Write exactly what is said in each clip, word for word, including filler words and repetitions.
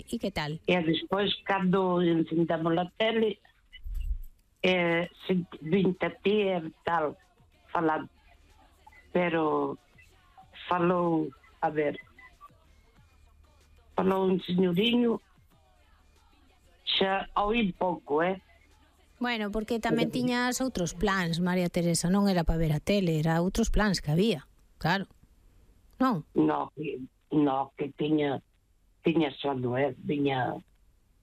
sí. E que tal? E despois, cando encendamos a tele, eh, vinte a ti e tal, falando. Pero falou, a ver, falou un señoriño, xa oí pouco, eh? Bueno, porque tamén tiñas outros plans, María Teresa, non era para ver a tele, era outros plans que había, claro. Non? No, no, que tiña tiña sono, eh? Viña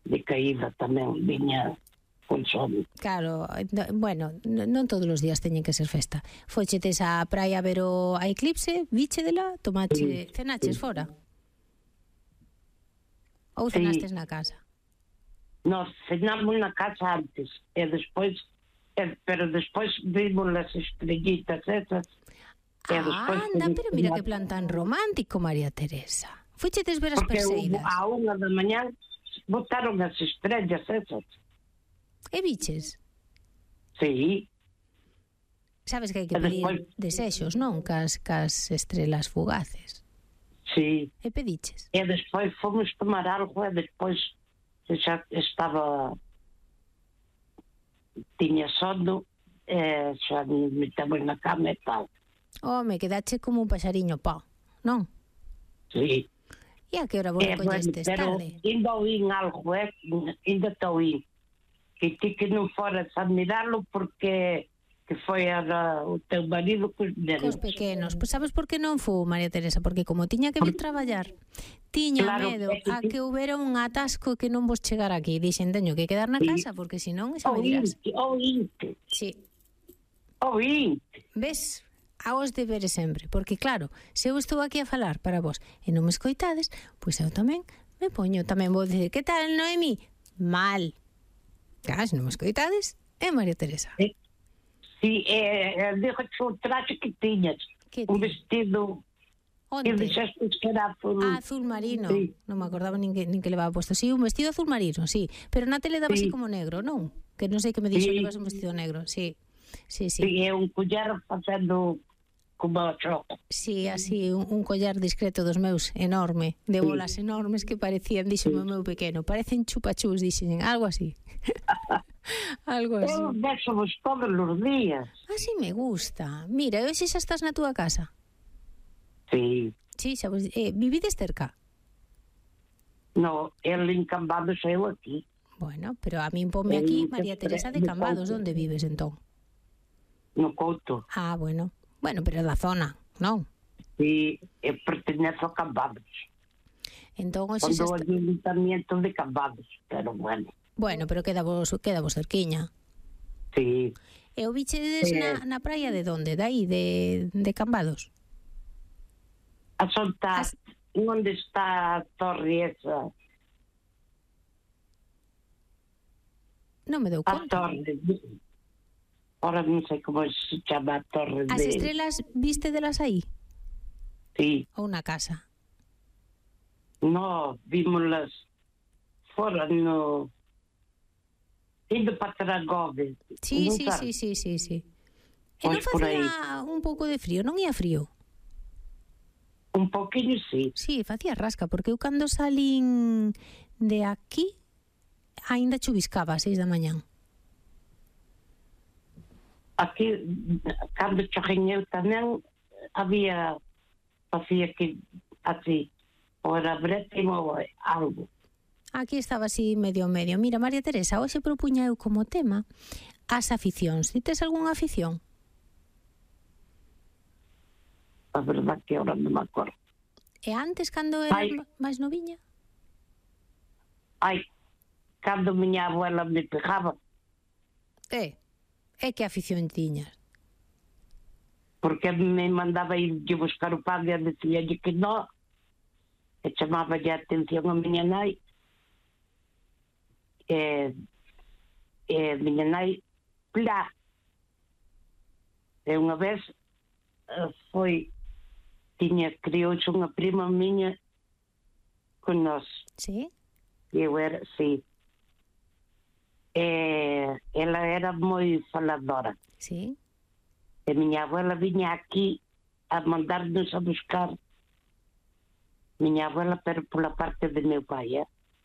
de caída tamén, viña con sono. Claro, bueno, non todos os días teñen que ser festa. Fochetes á praia a ver o a eclipse, viche dela, tomache, sí, cenaches sí. Fora? Ou cenastes sí. Na casa? Nos cenamos na casa antes, e despois, e, pero despois vimos as estrellitas esas. Ah, anda, pero mira que plan tan romántico, María Teresa. Fuchetes ver as Perseidas? Porque a unha da mañá botaron as estrellas esas. E biches? Sí. Sabes que hai que pedir despois... desexos, non? Cas, cas estrelas fugaces. Sí. E pediches? E despois fomos tomar algo e despois xa estaba... tiña sono e xa me metemos na cama e tal. Home, quedache como un paxariño pó, non? Sí. E a que hora vos recollestes? Pero tarde? Ainda oín algo, eh? Ainda te oín. Que ti que non foras a mirarlo porque que foi a, o teu marido cos nenos. Cos pequenos. Pois sabes por que non fui, María Teresa? Porque como tiña que vir traballar, tiña claro, medo que a que houbera un atasco que non vos chegara aquí. Dixen, teño que quedar na sí. casa porque senón xa me dirás. Oínte, sí. Oínte. Ves? A os deberes sempre, porque claro, se eu estou aquí a falar para vos e non me escoitades, pois eu tamén me poño, tamén vou dicir, que tal, Noemi? Mal. Claro, se non me escoitades, é María Teresa. Sí, sí eh, dixo o traxe que tiñas, que un vestido. Onde? Que dixeste que era azul. Ah, azul marino. Sí. Non me acordaba nin que, nin que levaba puesto. Sí, un vestido azul marino, sí. Pero na tele daba sí. Así como negro, non? Que non sei que me dixo sí. Que levas un vestido negro, sí. Sí, sí. Sí, é un collar facendo como a choco. Sí, así, un, un collar discreto dos meus, enorme, de bolas sí. Enormes que parecían, dixo sí. O meu pequeno, parecen chupachus, dixen, algo así. Algo así. Eu vexo-vos todos os días. Así me gusta. Mira, e hoxe xa estás na túa casa? Sí. Sí, xa vos, eh, vivides cerca? No, el en Cambados e eu aquí. Bueno, pero a min ponme aquí María Teresa de Cambados, onde vives entón? No Couto. Ah, bueno. Bueno, pero da zona, non? Sí, eu pertenezo a Cambados. Entón, hoxe xa está... o ayuntamiento de Cambados, pero bueno. Bueno, pero queda vos, queda vos cerquiña. Sí. E o bichedes eh... na, na praia de donde? De aí, de, de Cambados? A soltar, As... onde está a torre esa? Non me dou conta. A torre... Ahora non sei como se chama a torre. As de... estrelas viste delas aí? Sí. Ou na casa? No, vímolas fora no... indo para Tragove. Sí, sí, sí, sí, sí, sí. E non facía un pouco de frío, non ia frío? Un poquinho, sí. Sí, facía rasca, porque eu cando salín de aquí aínda chuviscaba a seis da mañán. Aquí, cando choqueñeu tamén, había, facía que así, ou era brétimo ou algo. Aquí estaba así medio medio. Mira, María Teresa, hoxe propuña eu como tema as aficións. Ti tes algunha afición? A verdad que ahora non me acordo. E antes, cando eras máis noviña? Ai, cando miña abuela me pegaba. Eh, e que afición tiñas? Porque me mandaba ir de buscar o padre e decía que non, e chamaba a atención a miña nai, e, e miña nai, plá. E unha vez foi, tiña, criouxe unha prima miña con nós. Sí? E eu era, sí. E ela era moi faladora. Sí. E miña abuela viña aquí a mandarnos a buscar. Miña abuela, pero pola parte de meu pai, eh?